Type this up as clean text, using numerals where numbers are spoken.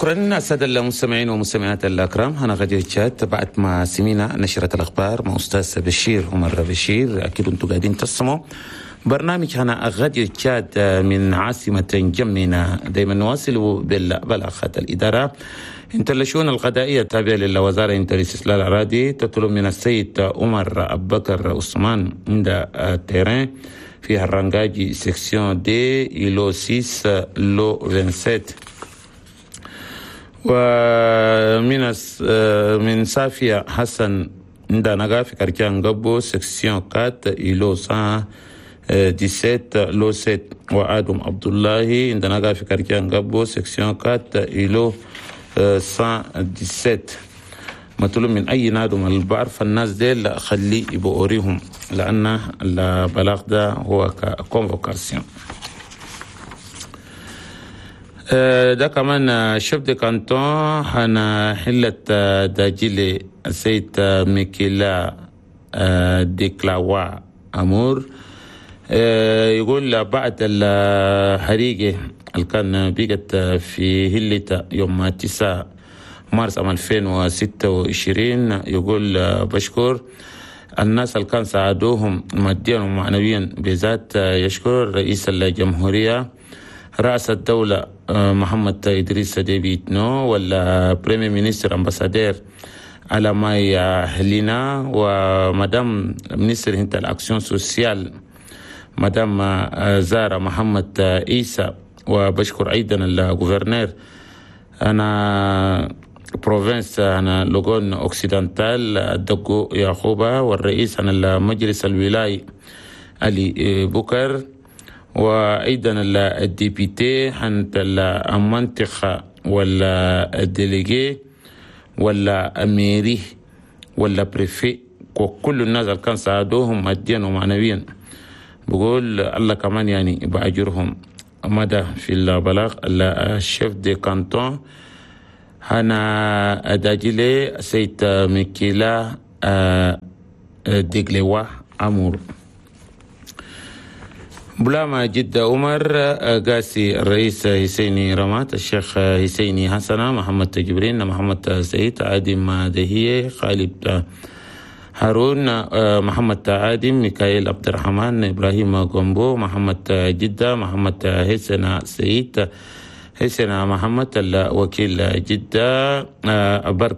شكرا السادة المستمعين والمستمعات الأكرام. هنا غدير تشاد بعد ما سمينا نشرة الأخبار مع أستاذ بشير عمر بشير. أكيد أنتم قاعدين تسمعوا برنامج هنا غدير تشاد من عاصمة جمينة. دايما نواصل بالبلاغات. الإدارة انت الشؤون القضائية التابعة للوزارة انت الاستسلال الأراضي تطلب من السيد عمر أبو بكر عثمان عند terrain في الرنجاجي section D îlot 6 lot 27. ومن صافية حسن عند نغا في quartier نغبو section 4 îlot 117 lot 7. وآدم عبد الله عند نغا في quartier نغبو section 4 îlot 117. مطلوب من أي نادم اللي بعرف الناس ديل خليه يبقوريهم، لأن البلاغ ده هو convocation. ده كمان chef de canton هنا حلة داجيلي السيد ميكيلا ديكلاوا أمور، يقول بعد الحريقة اللي كان بقت في هلة يوم 9 مارس عام 2026، يقول بشكر الناس اللي كان ساعدوهم ماديا ومعنويا، بالذات يشكر رئيس الجمهورية رئيس الدولة محمد إدريس ديبي إتنو، ولا premier ministre ambassadeur على ماي هلينا، و madame ministre هنت ال action sociale مدام زارة محمد عيسى. وبشكر أيضا ال gouverneur هنا province هنا Logone Occidental دقو يعقوبة، والرئيس هنا المجلس الولاي علي بكر، وأيضا ال député حنت المنطقة ولا ال délégué ولا mairie ولا préfet وكل الناس اللي كان ساعدوهم ماديا ومعنويا. بقول الله كمان يعني بأجرهم. مدى في البلاغ ال chef de canton هنا داجلي سيد ميكيلا ديغليوا أمور. بلاما جدة عمر قاسي الرئيس حسيني رمات، الشيخ حسيني حسنة، محمد جبرين، محمد سعيد، عادم دهية، خالد هارون، محمد عادم، ميكائيل عبد الرحمن، إبراهيم غومبو، محمد جدة، محمد حسن سعيد، حسن محمد الوكيل جدة، برك.